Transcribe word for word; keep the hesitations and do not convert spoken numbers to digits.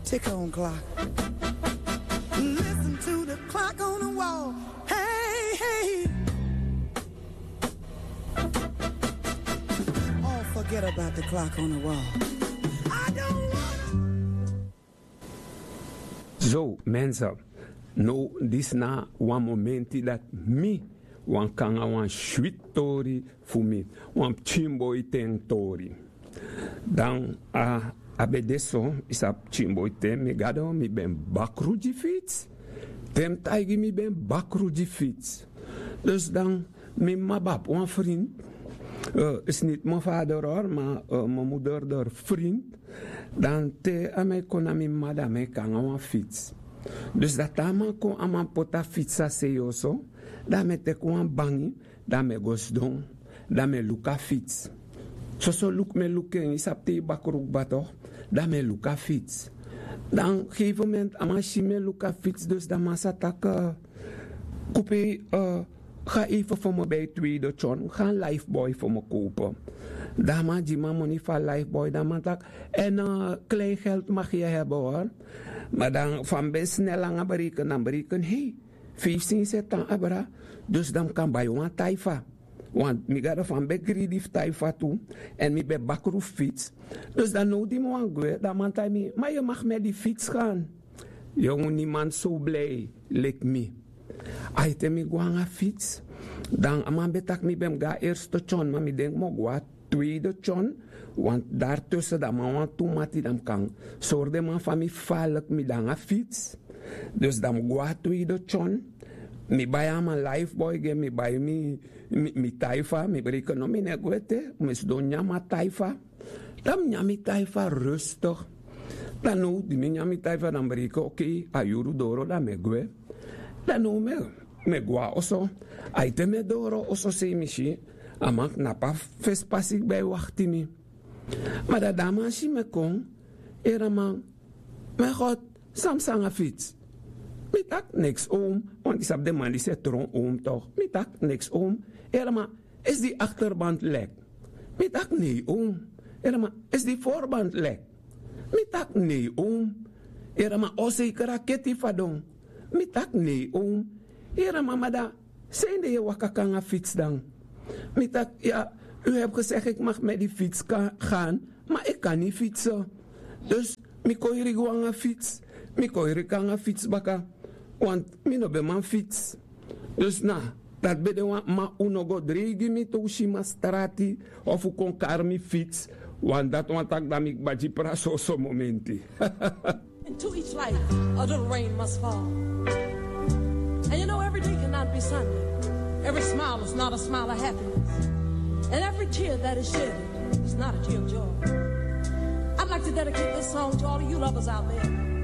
Tick on clock. Listen to the clock on the wall. Hey, hey. All forget about the clock on the wall. I don't wanna. Zo, mensen. No, disi na wan momenti dati mi wani kon nanga wan switi tori fu mi, wan pikin boi ten tori. Dan a, a ben de so, yu sabi, pikin boi ten, mi gado, mi ben bakru gi fitsi. Te mi taigi mi ben bakru gi fitsi. Dus dan mi mama ben abi wan frinti, eh, is niti mi vader hori, ma, eh, mi moeder hori frinti. Dan te a man e kon na mi mama, dan a man e kon nanga wan fitsi. Dus dan te a man kon, a man poti a fitsi a sei oso, dan a man e teki wan bangi, dan mi e go sidon, dan mi e luku a fitsi. Soso luku mi e luku en, yu sabi te yu bakru kba tok, dan mi e luku a fitsi. Dan gegeven moment a man si mi e luku a fitsi, dus dan a man sa taki, eh, Kupi, eh, ga even voor me bij Tweede John, ga een Lifebuoy voor me kopen. Dan a man gi mi a moni fu a Lifebuoy, dan a man taki, en, eh, kleingeld mag je hebben hoor. Ma dan fa mi ben snel nanga bereken, dan bereken, hei, feifi sensi e tan abra, dus dan mi kan bai wan taifa. Want mi gado, fa mi ben greedy fu taifa tu, èn mi ben bakru fu fitsi. Dus dan now di mi wani gwe, dan a man taigi mi, ma yu mag met die fiets gaan. Yongu, niemand so blij leki mi. Ai, te mi go nanga fitsi, dan a man ben taki mi ben mus go na eerste John, ma mi denki mi o go na tweede John, want daartussen dan a man wani tu mati, dan mi kan sori den man fa mi faalek mi de nanga fitsi. Dus dan mi go na tweede John, mi bai a man Lifebuoy gi en, mi bai mi, mi, mi taifa, mi bereken no, mi no e gwe ete, mi sidon nyan mi taifa. Dan mi nyan mi taifa rustig. Dan now di mi nyan mi taifa, dan mi bereken, oké, a yuru doro, dan mi e gwe. Dan now mi e, mi e go na oso. Ai, te mi e doro oso sei, mi si a man knapu a fesi pasi kba e wakti mi. Ma dan di a man si mi e kon, yere a man, mijn God, san psa nanga fitsi? Mi taki niks, oom, want yu sabi den man disi e tron, oom, toch? Mi taki niks, oom. Yere a man, is die achterband lek? Mi taki nee, oom. Yere a man, is die voorband lek? Mi taki nee, oom. Yere a man, o, zeker a keti fadon. Mi taki nee, oom. Yere a man, ma dan, san ede yu e waka kon nanga fitsi dan? Mi taki, ja, u hebt gezegd ik mag met die fiets ka-, gaan, maar ik kan niet fietsen. Dus mi kon heri go nanga fitsi, mi kon heri kon nanga fitsi baka, want mi no ben man fitsi. Dus na, dati ben de wan, ma un no go dreigi mi te un si mi na strati of un kon kari mi fitsi, want dati wani taki dan mi kba gi prasi soso momenti. And to each life, a little rain must fall. And you know, every day cannot be Sunday. Every smile is not a smile of happiness. And every tear that is shed is not a tear of joy. I'd like to dedicate this song to all of you lovers out there.